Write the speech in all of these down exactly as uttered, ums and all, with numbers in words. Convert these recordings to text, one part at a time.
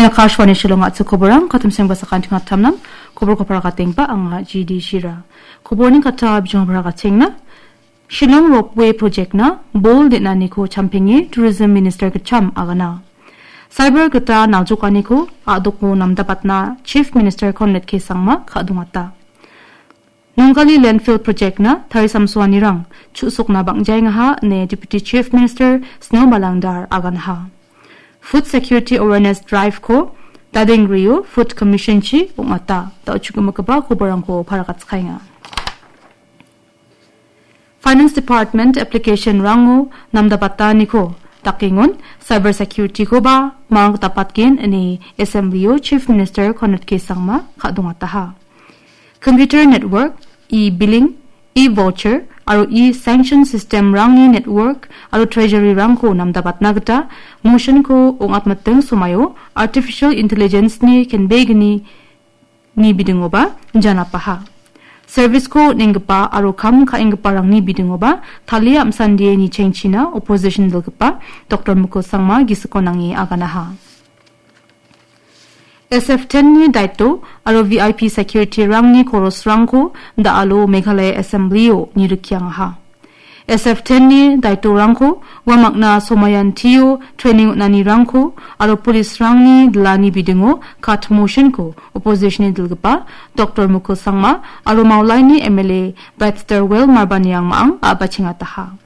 Akashvani Shillong a·chik koborang, katim sengba sakanti ngatamnam, koborko paragatenba anga G D Shira. Koborni kata bijong paragatenga. Shillong Ropeway Project-na bol den·aniko champenge Tourism Minister gitcham agana. Cyber gita naljokaniko a·doko namdapatna Chief Minister Conrad K Sangma ka·dongata. Nongkali Landfill Project-na tarisamsoanirang chu·sokna bang·jaengaha ine Deputy Chief Minister Sno Malangdar aganaha. Food Security Awareness Drive-ko dadengrio Food Commission-chi ong·ata. Da·o chukgimigipa koborangko paragatskaenga. Finance Department application-rango namdabataniko dakengon cyber security-koba mang dapatgen ine Assembly-o Chief Minister Conrad K Sangma ka·dongataha. Computer network, e-billing, e-voucher aro e-sanction system-rangni network aro treasury-rangko namdabatna gita motion-ko ong·atmiting somaio artificial intelligence-ni kenbegni ni bidingoba janapaha. Service-ko on·enggipa aro kam ka·enggiparangni bidingoba talia am·sandie nichengchina opposition dilgipa Doctor Mukul Sangma gisiko nange aganaha. S F ten-ni daito aro V I P security-rangni korosrangko da·alo Meghalaya Assembly-o nirikiangaha. S F ten-ni daitorangko uamakna somayantio training on·anirangko aro police-rangni dilani bidingo kat motion-ko opposition-ni dilgipa Doctor Mukul Sangma aro Maulaini M L A Brightstarwell Marbaniang ma·ang a·bachengataha.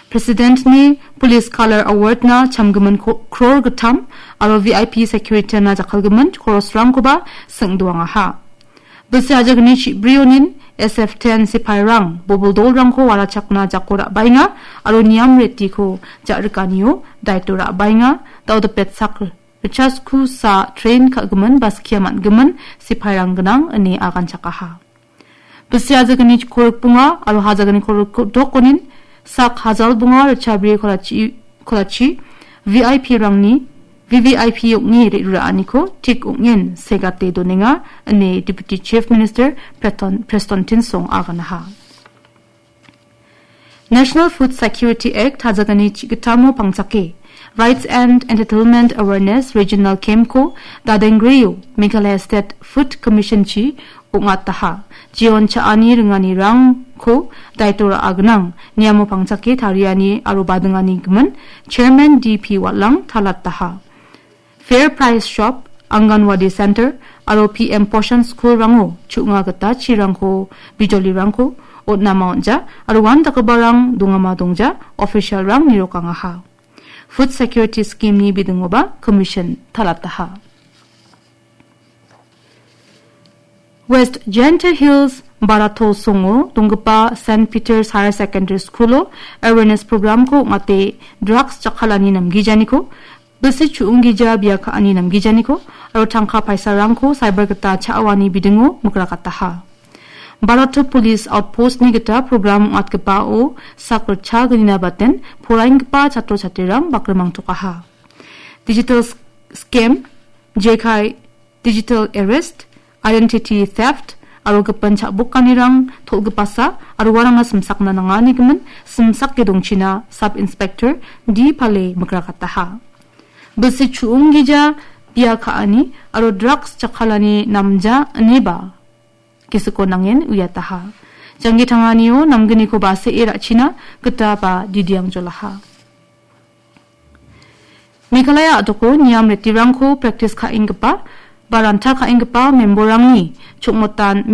President-ni Police Color Award-na chamgimin ko-, crore gittam aro V I P security-na jakkalgimin korosrangkoba sing·doangaha. Bilsi ajagni chibrionin S F ten sipairang bobol dolrangko warachakna jako ra·baenga aro niam retiko ja·rikanio daito ra·baenga, dao dipetsak richasku sa train ka·gimin ba skia man·gimin sipairang gnang ine aganchakaha. Bilsi ajagni korikbonga aro hajagni korikdokonin sak hajal bonga richabri kolachi, kolachi V I P-rangni V V I P ong·e re·ruraaniko tik ong·en segate donenga ine Deputy Chief Minister Preston, Preston Tynsong aganaha. National Food Security Act hajagni chigitamo pangchake Rights and Entitlement Awareness Regional Camp-ko dadenggreo Meghalaya State Food Commission-chi ong·ataha. Jeon cha·ani ringanirangko daito ra·a gnang, niamo pangchake tariani aro badingani gimin Chairman D P Watlang talataha. Fair Price Shop, Anganwadi Center aro P M Poshan School-rango chu·nga gita chirangko, bijolirangko on·ama on·ja aro uandakgiparang dongama dongja official-rang nirokangaha. Food Security Scheme-ni bidingoba commission talataha. West Jaintia Hills Barato Songo donggipa Saint Peter's Higher Secondary School-o awareness program-ko ong·ate drugs jakkalani namgijaniko, bilsi chu·onggija bia ka·ani namgijaniko aro tangka paisarangko cyber gita cha·awani bidingo mikrakataha. Barato Police Outpost-ni gita program ong·atgipao sak ritchagnina baten poraienggipa chatro chatrirang bakrimangtokaha. Digital s-, scam, jekai digital arrest, identity theft, aro gipin cha·bokanirang tol·gipasa aro uarangna simsakna nangani gimin simsake dongchina Sub Inspector D Pale mikrakataha. Bilsi chu·onggija bia ka·ani aro drugs jakkalani namja ineba gisiko nangen uiataha. Janggi tanganio namginiko ba se·e ra·china gita ba didiangjolaha. Meghalaya a·doko niam retirangko practice ka·enggipa ba ranta ka·enggipa member-rangni chongmotan